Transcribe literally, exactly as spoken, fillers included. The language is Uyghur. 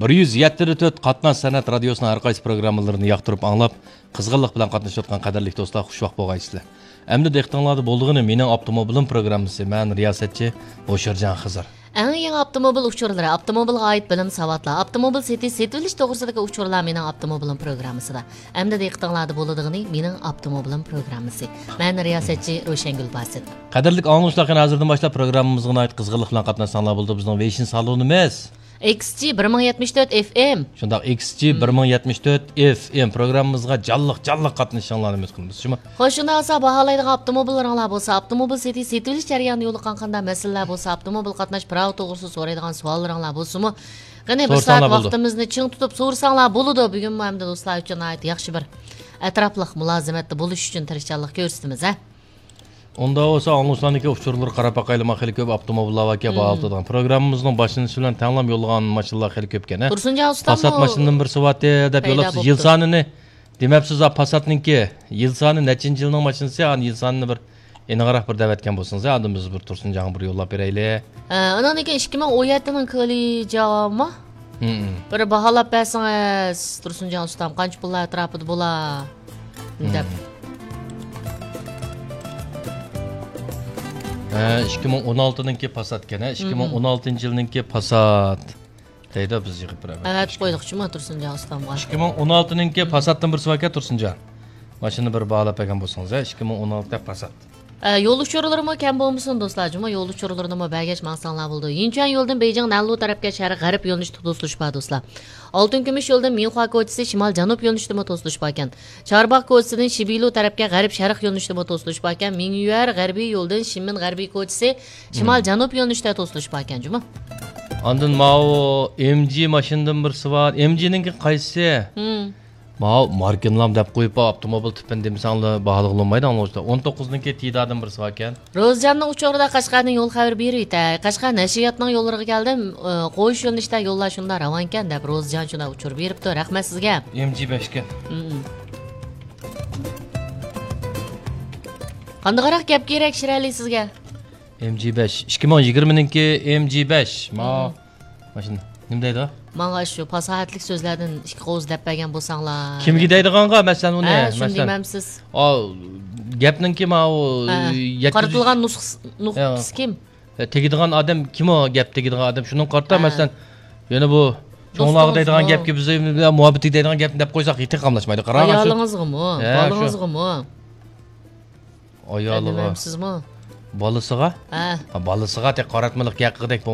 بىر يۈز يەتتە تۆت قاتناش سەنئەت رادىيوسىنىڭ ھەر قايسى پروگراممىلىرىنى ياقتۇرۇپ ئاڭلاپ، قىزغىنلىق بىلەن قاتنىشىۋاتقان قەدىرلىك دوستلار، خۇشۋاق بولغايسىلەر. ئەمدى دىققىتىڭلاردا بولىدىغىنى مېنىڭ ئاپتوموبىلىم پروگراممىسى. مەن رىياسەتچى ھوشۇرجان خىزىر. ئەڭ يېڭى ئاپتوموبىل ئۇچۇرلىرى، ئاپتوموبىلغا ئائىت بىلىم ساۋاتلار، ئاپتوموبىل سېتىش، سېتىۋېلىش توغرىسىدىكى ئۇچۇرلار مېنىڭ ئاپتوموبىلىم پروگراممىسىدا. ئەمدى دىققىتىڭلاردا بولىدىغىنى مېنىڭ ئاپتوموبىلىم پروگراممىسى. مەن رىياسەتچى روشەنگۈل باسىت. قەدىرلىك ئاڭلىغۇچىلار، قېنى ھازىردىن باشلاپ پروگراممىمىزغا ناھايىتى قىزغىنلىق بىلەن قاتناشساڭلار بولىدۇ. بىزنىڭ ۋېيشىن سالونىمىز. ئېكس جى بىر مىڭ يەتمىش تۆت ئېف ئېم. شۇنداق، ئېكس جى بىر مىڭ يەتمىش تۆت ئېف ئېم پروگراممىمىزغا جانلىق، جانلىق قاتنىشىشىڭلارنى ئۈمىد قىلىمىز. شۇمۇ؟ خوش، شۇنداق بولسا، باھالايدىغان ئاپتوموبىللىرىڭلار بولسا، ئاپتوموبىل سېتىش، سېتىۋېلىش جەريانىدا يولۇققان قانداق مەسىلىلەر بولسا، ئاپتوموبىل قاتناش پىراۋى توغرىسىدا سورايدىغان سوئاللىرىڭلار بولسىمۇ، قېنى بىر سائەت سورىساڭلار بولىدۇ. ۋاقتىمىزنى چىڭ تۇتۇپ سورىساڭلار بولىدۇ. بۈگۈنمۇ ئەمدى دوستلار ئۈچۈن ناھايىتى ياخشى بىر ئەتراپلىق مۇلازىمەتتە بولۇش ئۈچۈن تىرىشچانلىق كۆرسىتىمىز، ھە؟ ئۇنداق بولسا، ئاڭلىغۇچىلارنىڭكى ئۇچۇرلىرىغا قاراپ باقايلىما، خېلى كۆپ ئاپتوموبىللار باركەن، باھالىتىدىغان. پروگراممىمىزنىڭ باشلىنىشى بىلەن تەڭلا يوللىغان ماشىنىلار خېلى كۆپكەن، ھە؟ تۇرسۇنجان ئۇستاممۇ پاسات ماشىنىدىن بىر سوۋاتى دەپ پەيدا يوللاپسىز. يىل سانىنى دېمەپسىز، ھە، پاساتنىڭكى يىل سانى نەچچىنچى يىلنىڭ ماشىنىسى، ئانا يىل سانىنى بىر ئېنىقراق بىر دەۋەتكەن بولسىڭىز، ھە، ئاندىن بىز بىر تۇرسۇنجانغا بىر يوللاپ بېرەيلى. ھە، ئاندىن كېيىن ئىككى مىڭ ئون يەتتىنىڭ كىلىجامۇ؟ ھىم. بىر باھالاپ بەرسىڭىز، تۇرسۇنجان ئۇستام، قانچە پۇللار ئەتراپىدا بولا؟ دەپ. ھە، ئىككى مىڭ ئون ئالتىنىڭكى پاسات ئىكەن، ھە، ئىككى مىڭ ئون ئالتىنچى يىلنىڭكى پاسات. دەيدۇ، بىز يىغىپ بېرەمىز. ئەۋەتىپ قويدۇقچۇمۇ تۇرسۇنجان ئۇستامغا؟ ئىككى مىڭ ئون ئالتىنىڭكى پاساتتىن بىرسى باركەن، تۇرسۇنجان. ماشىنا بىر باھالاپ بەرگەن بولسىڭىز، ھە، ئىككى مىڭ ئون ئالتە پاسات. ئە، يول ئۇچۇرلىرىمۇ كەم بولمىسۇن دوستلار، جۇمۇ يول ئۇچۇرلىرىنىمۇ بەرگەچ ماڭساڭلار بولىدۇ. يىنچۈەن يولىدىن بېيجىڭ نەنلۇ تەرەپكە شەرق غەرب يۆنىلىشتە توسۇلۇش بار دوستلار. ئالتۇن كۈمۈش يولىدىن مىنخۇا كوچىسى شىمال جەنۇب يۆنىلىشتىمۇ توسۇلۇش باركەن. چارباغ كوچىسىدىن شىبىلۇ تەرەپكە غەرب شەرق يۆنىلىشتىمۇ توسۇلۇش باركەن. مىڭيۈەر غەربىي يولىدىن شىمىن غەربىي كوچىسى شىمال جەنۇب يۆنىلىشتە توسۇلۇش باركەن جۇمۇ. ئاندىن ماۋۇ ئېم جى ماشىنىدىن بىرسى بار. ئېم جىنىڭكى قايسىسى؟ ماۋۇ ماركىنلام دەپ قويۇپ، ئاپتوموبىل تىپىنى دېمىسەڭلار باھالىغىلى بولمايدۇ، ئاڭلىغۇچىلار. ئون توققۇزنىڭكى تىدادىن بىرسى باركەن. روزىجاننىڭ ئۇچۇرىدا قەشقەرنىڭ يول خەۋىرى بېرىۋېتەي. قەشقەر نەشرىياتنىڭ يوللىرىغا كەلدىم. ئى، قويۇش يۆنىلىشتە يوللار شۇنداق راۋانكەن دەپ روزىجان شۇنداق ئۇچۇر بېرىپتۇ. رەھمەت سىزگە. ئېم جى بەشكەن. قانداقراق گەپ كېرەك شىرئەلى سىزگە؟ ئېم جى بەش. ئىككى مىڭ يىگىرمىنىڭكى ئېم جى بەش. ما ماشىنا. نېمە دەيدۇ؟ ماڭا شۇ پاساھەتلىك سۆزلەردىن ئىككى قوۋۇز دەپ بەرگەن بولساڭلار. كىمگە دەيدىغانغا، مەسىلەن، ئۇنى، ھە، شۇنى مەسىلەن. دېمەمسىز؟ ئاۋۇ گەپنىڭكى ماۋۇ ھە. يەتكۈزۈش قارىتىلغان نۇسخىسى، نۇقتىسى كىم؟ ھە، تېگىدىغان ئادەم كىم ئۇ؟ گەپ تېگىدىغان ئادەم شۇنىڭغا قارىتا، ھە. مەسىلەن، يەنە بۇ چوڭلارغا دەيدىغان گەپكە بىز مۇھەببەتلىك دەيدىغان گەپنى دەپ قويساق، تېخى قاملاشمايدۇ. قاراڭلار شۇ. ئايالىڭىزغىمۇ، ھە، شۇ. بالىڭىزغىمۇ؟ ئايالىغا. دېمەمسىزمۇ؟ بالىسىغا؟ ھە. ھە، بالىسىغا تېخى قاراتمىلىق گەپ قىلغۇدەك